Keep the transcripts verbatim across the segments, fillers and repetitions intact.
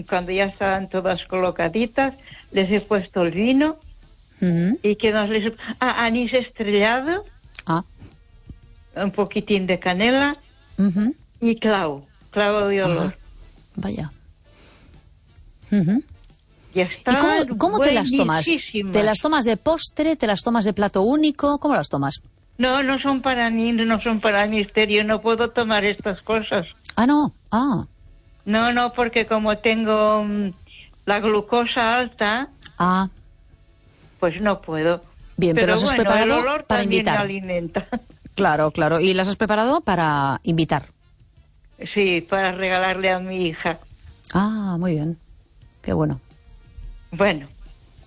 cuando ya estaban todas colocaditas, les he puesto el vino. Uh-huh. ¿Y qué más les he puesto? Ah, anís estrellado. Ah. Un poquitín de canela. Uh-huh. Y clavo, clavo de olor. Ah, vaya. Uh-huh. Y, está ¿Y cómo, cómo te las tomas? ¿Te las tomas de postre? ¿Te las tomas de plato único? ¿Cómo las tomas? No, no son para mí, no son para misterio, no puedo tomar estas cosas. Ah, no, ah. No, no, porque como tengo um, la glucosa alta, ah. pues no puedo. Bien, pero, pero las has bueno, preparado el olor para también invitar. Me alimenta. Claro, claro. ¿Y las has preparado para invitar? Sí, para regalarle a mi hija. Ah, muy bien. Qué bueno. Bueno,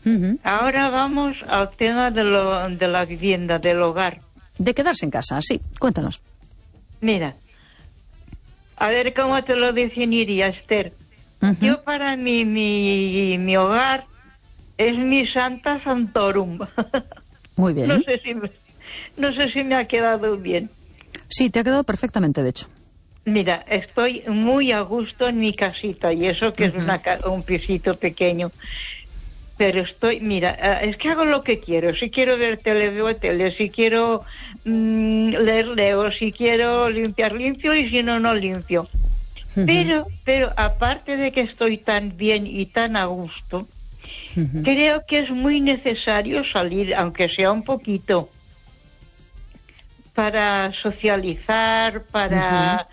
uh-huh. Ahora vamos al tema de, lo, de la vivienda, del hogar. De quedarse en casa, sí. Cuéntanos. Mira, a ver cómo te lo definiría, Esther. Uh-huh. Yo para mí, mi, mi hogar es mi Santa Santorum. Muy bien. No sé si me, no sé si me ha quedado bien. Sí, te ha quedado perfectamente, de hecho. Mira, estoy muy a gusto en mi casita, y eso que uh-huh. es una, un pisito pequeño. Pero estoy, mira, es que hago lo que quiero. Si quiero ver tele, veo tele. Si quiero mmm, leer, leo. Si quiero limpiar, limpio. Y si no, no limpio. Uh-huh. Pero, pero aparte de que estoy tan bien y tan a gusto, uh-huh. creo que es muy necesario salir, aunque sea un poquito, para socializar, para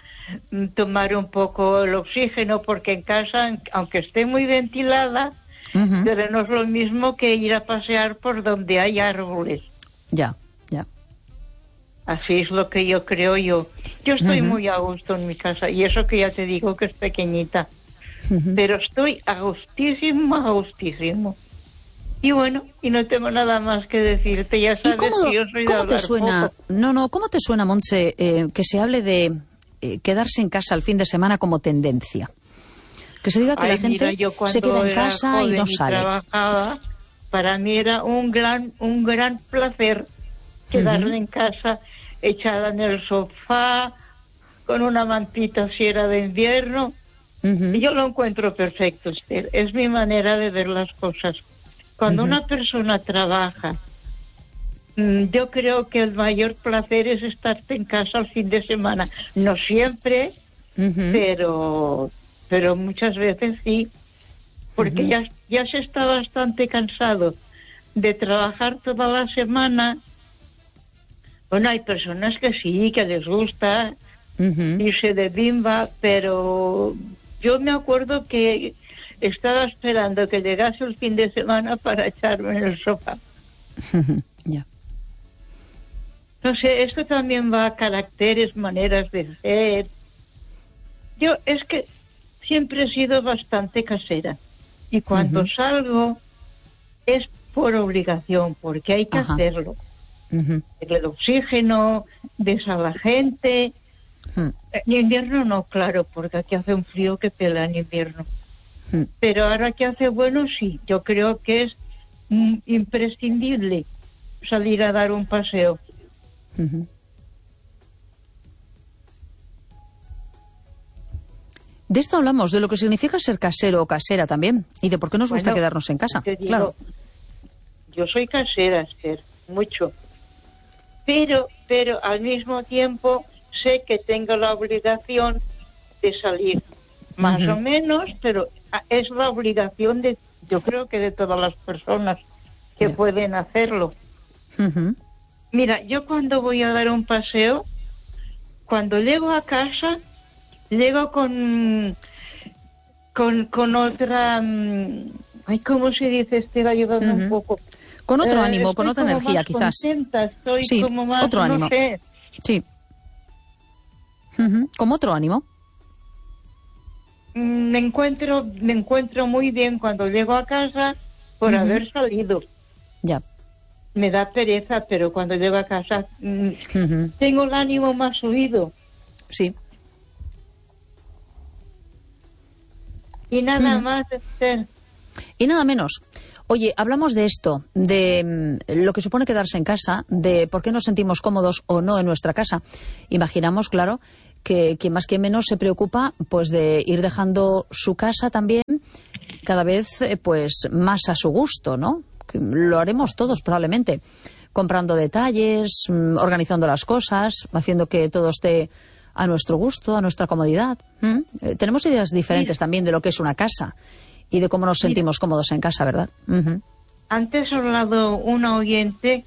uh-huh. tomar un poco el oxígeno, porque en casa, aunque esté muy ventilada, uh-huh. pero no es lo mismo que ir a pasear por donde hay árboles. Ya, ya. Así es lo que yo creo yo. Yo estoy uh-huh. muy a gusto en mi casa, y eso que ya te digo que es pequeñita. Uh-huh. Pero estoy a gustísimo, a gustísimo. Y bueno, y no tengo nada más que decirte, ya sabes cómo, que yo soy de ¿cómo te suena, poco. No, no, ¿cómo te suena, Montse, eh, que se hable de eh, quedarse en casa el fin de semana como tendencia? Que se diga que Ay, la gente mira, se queda en casa y no y sale. Trabajaba, para mí era un gran, un gran placer quedarme uh-huh. en casa, echada en el sofá, con una mantita si era de invierno. Uh-huh. Y yo lo encuentro perfecto, Esther. Es mi manera de ver las cosas. Cuando uh-huh. una persona trabaja, mmm, yo creo que el mayor placer es estarte en casa el fin de semana. No siempre, uh-huh. pero... pero muchas veces sí, porque uh-huh. ya, ya se está bastante cansado de trabajar toda la semana. Bueno, hay personas que sí, que les gusta uh-huh. irse de bimba, pero yo me acuerdo que estaba esperando que llegase el fin de semana para echarme en el sofá. Uh-huh. Yeah. Entonces, esto también va a caracteres, maneras de ser. Yo, es que siempre he sido bastante casera, y cuando uh-huh. salgo es por obligación, porque hay que uh-huh. hacerlo. Uh-huh. El oxígeno, ves a la gente. Uh-huh. En invierno no, claro, porque aquí hace un frío que pela en invierno. Uh-huh. Pero ahora que hace bueno, sí, yo creo que es mm, imprescindible salir a dar un paseo. Uh-huh. De esto hablamos, de lo que significa ser casero o casera también, y de por qué nos gusta bueno, quedarnos en casa. Digo, claro. Yo soy casera, Esther, mucho. Pero, pero al mismo tiempo sé que tengo la obligación de salir. Más uh-huh. o menos, pero es la obligación de, yo creo que de todas las personas que yeah. pueden hacerlo. Uh-huh. Mira, yo cuando voy a dar un paseo, cuando llego a casa, llego con con, con otra, ay, ¿cómo se dice? Estoy ayudando uh-huh. un poco. Con otro eh, ánimo, con otra energía, más quizás. Contenta, estoy sí, como más, otro ánimo. No sé. Sí. Uh-huh. ¿Como otro ánimo? Me encuentro, me encuentro muy bien cuando llego a casa por uh-huh. haber salido. Ya. Me da pereza, pero cuando llego a casa uh-huh. tengo el ánimo más subido. Sí. Y nada uh-huh. más, Esther. Y nada menos. Oye, hablamos de esto, de mm, lo que supone quedarse en casa, de por qué nos sentimos cómodos o no en nuestra casa. Imaginamos, claro, que quien más que menos se preocupa pues de ir dejando su casa también cada vez eh, pues más a su gusto, ¿no? Que lo haremos todos probablemente, comprando detalles, mm, organizando las cosas, haciendo que todo esté a nuestro gusto, a nuestra comodidad. ¿Mm? Eh, tenemos ideas diferentes Mira. también de lo que es una casa y de cómo nos sentimos Mira. cómodos en casa, ¿verdad? Uh-huh. Antes ha hablado una oyente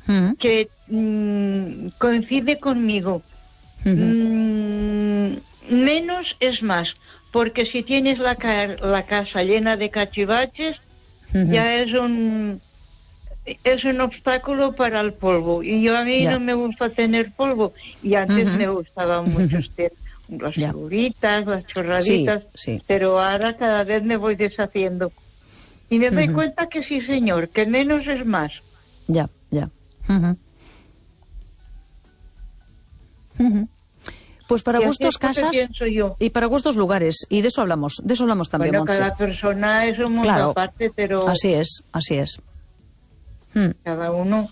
uh-huh. que mmm, coincide conmigo. Uh-huh. Mm, menos es más, porque si tienes la, ca- la casa llena de cachivaches, uh-huh. ya es un es un obstáculo para el polvo. Y yo a mí yeah. no me gusta tener polvo. Y antes uh-huh. me gustaba mucho uh-huh. las yeah. figuritas, las chorraditas, sí, sí. pero ahora cada vez me voy deshaciendo. Y me doy uh-huh. cuenta que sí, señor, que menos es más. Ya, ya. Uh-huh. Uh-huh. Pues para gustos casas y para gustos lugares, y de eso hablamos, de eso hablamos también, bueno, Montse. Cada persona es un mundo claro. aparte, pero... Así es, así es. Hmm. Cada uno...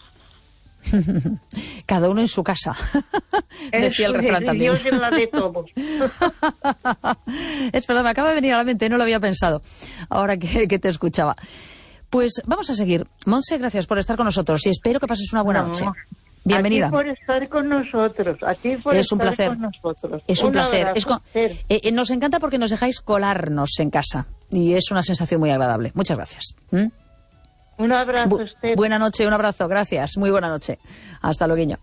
Cada uno en su casa, decía el refrán es, también. Dios es la de todos. Es verdad, me acaba de venir a la mente, no lo había pensado, ahora que, que te escuchaba. Pues vamos a seguir. Montse, gracias por estar con nosotros y espero que pases una buena no, noche. Bienvenida. A ti por estar con nosotros, a ti por es estar un placer. con nosotros. Es un, un placer. Abrazo, es con... eh, nos encanta porque nos dejáis colarnos en casa y es una sensación muy agradable. Muchas gracias. ¿Mm? Un abrazo, Bu- Esther. Buena noche, un abrazo, gracias. Muy buena noche. Hasta luego.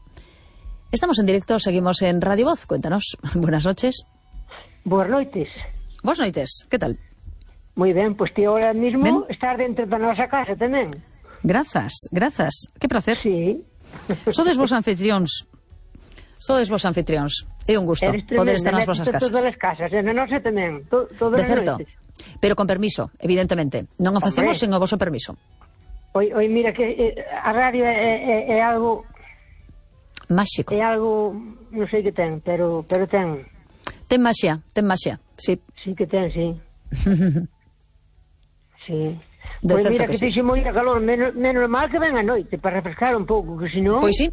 Estamos en directo, seguimos en Radio Voz. Cuéntanos. Buenas noches. Buenas noches. Buenas noches, ¿qué tal? Muy bien, pues tío, ahora mismo ¿Ven? estar dentro da nosa casa tamén. Grazas, grazas. Que placer. Sí. Sodes vos anfitrións. Sodes vos anfitrións. É un gusto poder estar nas vosas casas. Todas as casas, e na nosa tamén. To, todas de certo. Noites. Pero con permiso, evidentemente. Non o facemos sen o voso permiso. Oi, oi, mira que eh, a radio é, é, é algo máxico. É algo, non sei que ten, pero pero ten. Ten maxia, ten maxia, sí. Sí que ten, sí. Sí. De pois mira que, que sí. tixe moita calor, menos, menos mal que ven a noite para refrescar un pouco, que senón... Pois sí.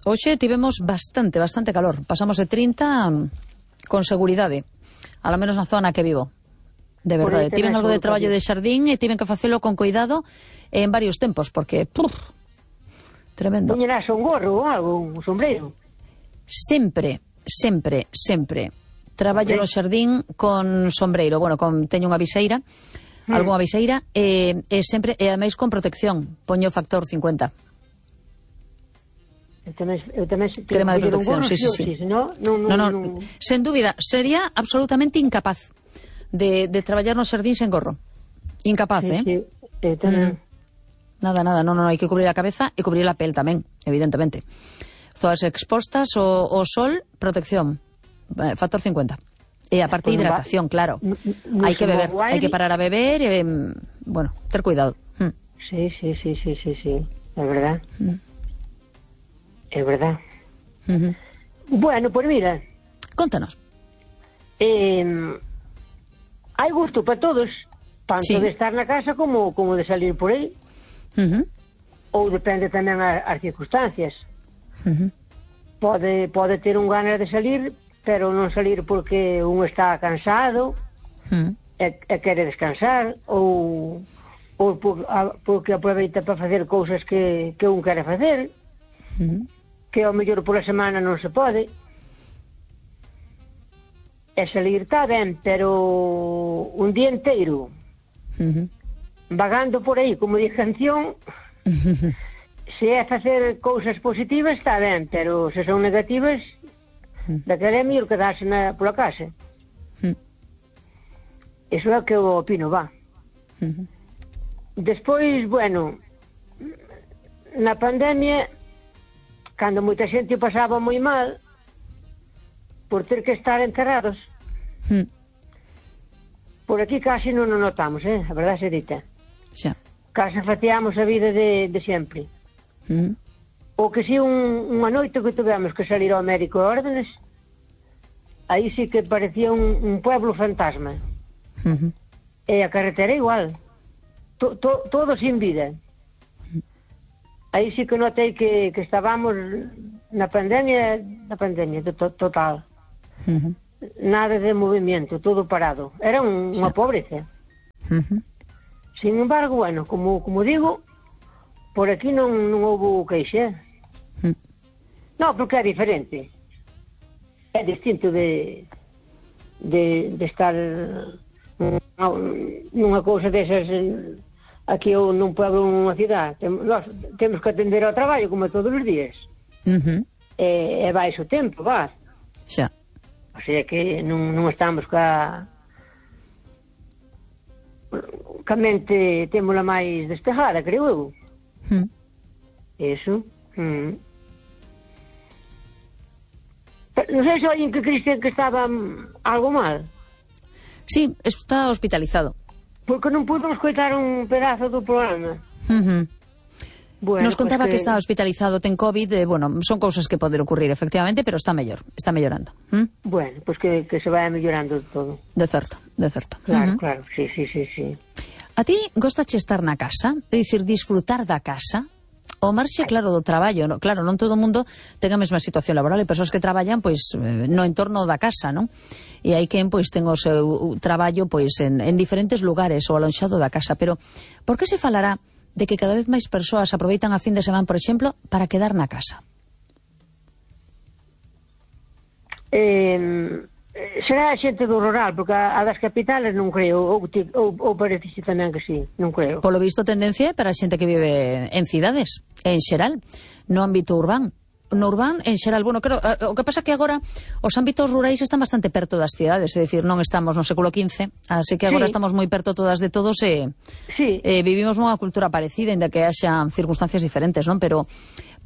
Hoxe tivemos bastante, bastante calor. Pasamos de trinta con seguridade, a lo menos na zona que vivo. De verdade, tiven algo de traballo de xardín e tiven que facelo con cuidado en varios tempos, porque puf, tremendo. Poñerás un gorro ou algo, un sombreiro? Sempre, sempre, sempre traballo no xardín con sombreiro, bueno, con teño unha viseira, mm. algunha viseira e, e sempre, e ademais con protección, poño factor cincuenta. Eu tamén, eu tamén crema de protección, sí, sí, sí. Si, no, no, no, no, no, no, sen dúbida, sería absolutamente incapaz de, de traballar no xardín sen gorro. Incapaz, sí, eh? Sí, eu tamén. Mm. Nada, nada, no, no, hai que cubrir a cabeza e cubrir a pel tamén, evidentemente. Zonas expostas o, o sol, protección, eh, factor cincuenta. E a parte de hidratación, claro. Hai que beber, hai que parar a beber e, bueno, ter cuidado. Mm. Sí, sí, sí, sí, sí, sí, é verdad. Mm. É verdad. Mm-hmm. Bueno, pues mira. Contanos. Eh, hai gusto para todos, tanto sí. de estar na casa como, como de salir por aí. Uh-huh. Ou depende tamén as, as circunstancias. Uh-huh. Pode, pode ter un ganas de salir, pero non salir porque un está cansado uh-huh. e, e quere descansar, ou, ou por, a, porque aproveita para facer cousas que, que un quere facer, uh-huh. que ao mellor pola semana non se pode. E salir está ben, pero un día inteiro uh-huh. vagando por aí, como di canción, uh-huh. se é facer cousas positivas está ben, pero se son negativas uh-huh. daquela é mellor quedarse na, pola casa. Uh-huh. Iso é o que eu opino, va. Uh-huh. Despois, bueno, na pandemia, cando moita xente o pasaba moi mal por ter que estar encerrados, mm. por aquí casi non o notamos, eh? A verdade se dita. Xa. Casi faciamos a vida de, de sempre. Mm. O que si un, unha noite que tivemos que salir ao médico a órdenes, aí sí que parecía un, un pueblo fantasma. Mm-hmm. E a carretera igual. To, to, todo sin vida. Aí sí que notei que, que estábamos na pandemia, na pandemia to, to, total. Uh-huh. Nada de movimento, todo parado. Era un, unha pobreza. Uh-huh. Sin embargo, bueno, como, como digo, por aquí non, non houve queixa. Mm. Non, porque é diferente. É distinto de, de, de estar nunha cousa desas aquí ou nun pueblo ou nunha cidade. Tem, nós temos que atender ao traballo como todos os días. Uh-huh. E, e vai o tempo, va. Xa. O sea que non, non estamos ca... ca mente témola máis despejada, creo eu. Mm. Eso. Mm. Non sei se alguén que creíste que estaba algo mal. Sí, está hospitalizado. Porque non pudo escoitar un pedazo do programa. Uh-huh. Bueno, nos contaba pues que... que está hospitalizado, ten COVID, eh, bueno, son cousas que poden ocurrir efectivamente, pero está mellor, está mellorando. ¿Mm? Bueno, pues que, que se vaya mellorando todo. De certo, de certo. Claro, uh-huh. claro, sí, sí, sí, sí. A ti gostache estar na casa? É dicir, disfrutar da casa? O marxe, claro, do traballo, no? Claro, non todo o mundo ten a mesma situación laboral, e persoas que traballan, pois, no entorno da casa, non? E hai quen, pois, ten o seu traballo, pois, en, en diferentes lugares ou alonxado da casa, pero por que se falará de que cada vez máis persoas aproveitan a fin de semana, por exemplo, para quedar na casa? Eh, será a xente do rural, porque a, a das capitales non creo, ou, ou, ou parece tamén que sí, non creo. Polo visto, tendencia é para a xente que vive en cidades, en xeral, no ámbito urbán. No urbán, en xeral, bueno, creo, o que pasa que agora os ámbitos rurais están bastante perto das cidades, é dicir, non estamos no século quince, así que agora sí. Estamos moi perto todas de todos e sí. eh, vivimos unha cultura parecida, ainda que haxa circunstancias diferentes, non? Pero,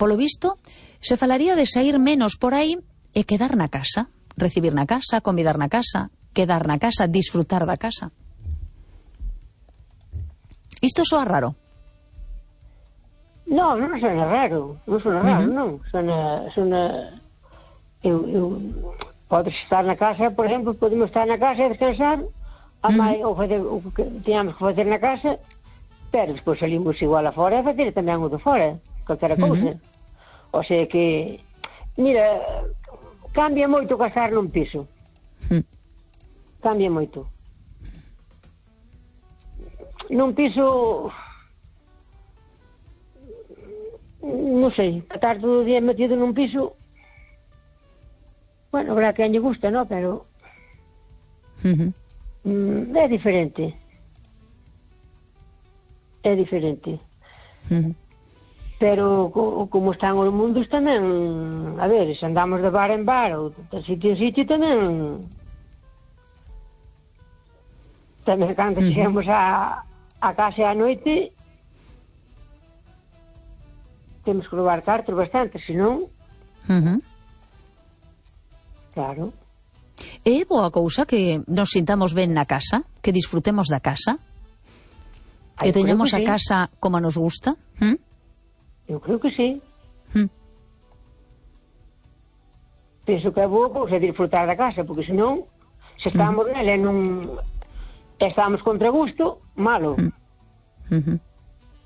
polo visto, se falaría de sair menos por aí e quedar na casa, recibir na casa, convidar na casa, quedar na casa, disfrutar da casa. Isto soa raro. Non, non sona raro, non sona raro, uh-huh. non, sona, sona, eu, eu, podes estar na casa, por exemplo, podemos estar na casa e descansar, a uh-huh. mai, ou fazer o que teníamos que fazer na casa, pero despois salimos igual a fora e fazer tamén o de fora, calquera cousa. Uh-huh. O sea que, mira, cambia moito casar nun piso, uh-huh. cambia moito. Nun piso... non sei, estar todo o día metido nun piso, bueno, habrá quen lle gusta, ¿no? Pero uh-huh. mm, é diferente, é diferente. Uh-huh. Pero co, como están os mundos tamén, a ver, se andamos de bar en bar ou de sitio en sitio tamén, tamén cando uh-huh. chegamos a, a casa a noite, temos que levar cartos bastante, senón... Uh-huh. Claro. É boa cousa que nos sintamos ben na casa, que disfrutemos da casa, que Ay, teñamos que a sí. casa como nos gusta? ¿Mm? Eu creo que sí. ¿Mm? Penso que é boa cousa disfrutar da casa, porque senón, se estamos uh-huh. nela e non estamos contra gusto, malo. Uh-huh.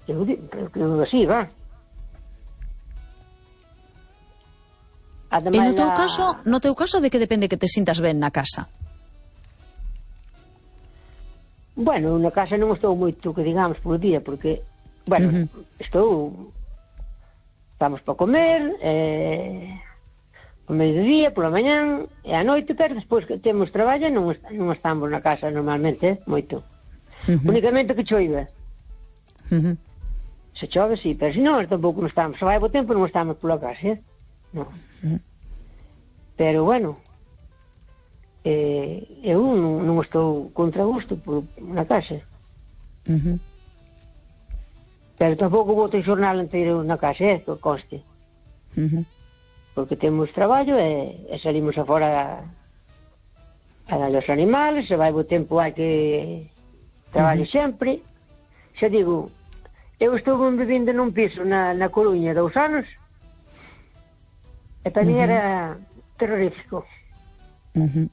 Eu digo así, va. Ademais, e no teu la... caso, no teu caso de que depende que te sintas ben na casa? Bueno, na casa non estou moito que digamos por día, porque, bueno, uh-huh. estou estamos para comer eh, o mediodía, pola mañán e a noite, pero despois que temos traballo non, est non estamos na casa normalmente, eh, moito. Uh-huh. Únicamente que choiva. Uh-huh. Se chove, sí, pero se non, tampouco non estamos. Se vai bo tempo non estamos pola casa, eh? Non. Uh-huh. Pero bueno, eh, eu non, non estou contra gusto por, na casa. Uh-huh. Pero tampouco vou ter xornal inteiro na casa, eh, que conste. Uh-huh. Porque temos traballo e, e salimos afora a, a dar os animales, se vai bo tempo hai que traballo uh-huh. sempre. Xa digo, eu estou vivindo nun piso na, na Coruña dous anos. E para mí uh-huh. era terrorífico. Uh-huh.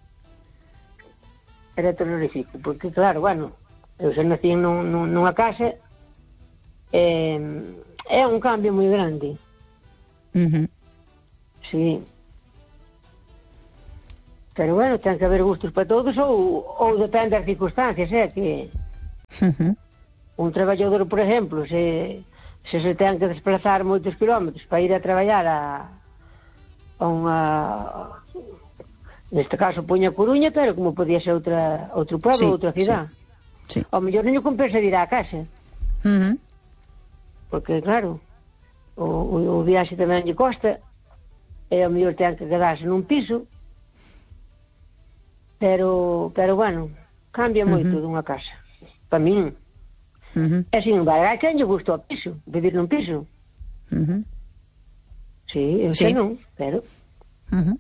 Era terrorífico, porque claro, bueno, eu xa nací nun, nun, nunha casa, eh, é un cambio moi grande. Uh-huh. Sí. Pero bueno, ten que haber gustos para todos, ou, ou depende das circunstancias, é eh, que... Uh-huh. un traballador, por exemplo, se, se se ten que desplazar moitos kilómetros para ir a traballar a, a unha, neste caso poña Coruña, pero como podía ser outra, outro pueblo, sí, outra cidade, sí, sí. Ao mellor non compensa ir á casa, uh-huh. Porque claro, o, o, o viaxe tamén lle costa, e ao mellor ten que quedarse nun piso, pero, pero bueno, cambia moito uh-huh. dunha casa, para min. Uh-huh. E sin embargo, hai quen lle gusta o piso, vivir nun piso. Uh-huh. Sí, eu sí. sei non, pero... Uh-huh.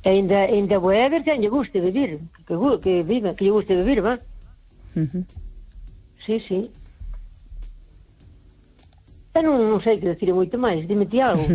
E ainda, ainda vou a ver quen lle guste vivir, que, que viva, que lle guste vivir, va? Uh-huh. Sí, sí. Eu non, non sei que decir moito máis, dime ti algo.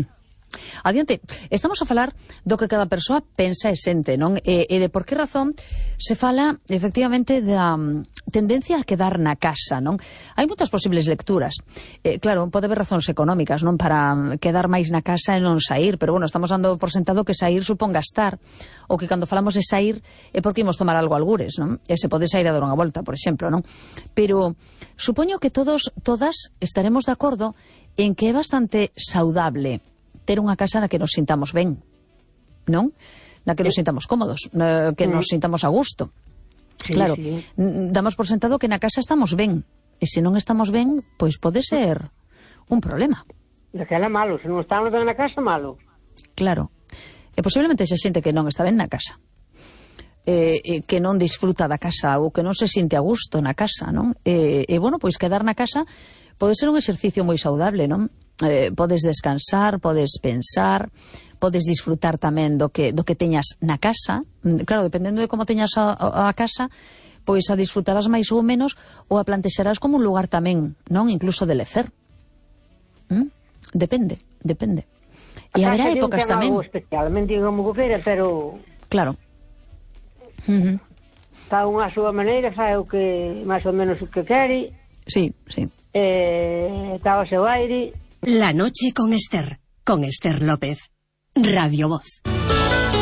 Adiante, estamos a falar do que cada persoa pensa e sente, non? E, e de por que razón se fala, efectivamente, da um, tendencia a quedar na casa, non? Hai moitas posibles lecturas. Eh, claro, pode haber razóns económicas, non? Para quedar máis na casa e non sair, pero, bueno, estamos dando por sentado que sair supón gastar, ou que cando falamos de sair é porque imos tomar algo algures, non? E se pode sair a dar unha volta, por exemplo, non? Pero supoño que todos, todas estaremos de acordo en que é bastante saudable ter unha casa na que nos sintamos ben, non? Na que nos sintamos cómodos, na que nos sintamos a gusto. Sí, claro, sí. Damos por sentado que na casa estamos ben, e se non estamos ben, pois pode ser un problema. Daquela malo, se non estamos ben na casa, malo. Claro, e posiblemente xa xente que non está ben na casa, e, e que non disfruta da casa, ou que non se sinte a gusto na casa, non? E, e bueno, pois quedar na casa pode ser un exercicio moi saudable, non? Eh, podes descansar, podes pensar, podes disfrutar tamén do que, do que teñas na casa. Claro, dependendo de como teñas a, a, a casa, pois a disfrutarás máis ou menos, ou a plantexarás como un lugar tamén, non? Incluso de lecer. ¿Mm? Depende, depende. E haberá épocas tamén. Especialmente como gofeira, pero... Claro. Uh-huh. Está unha súa maneira, fai o que, máis ou menos o que quere. Sí, sí. Eh, está o seu aire. La noche con Esther, con Esther López. Radio Voz.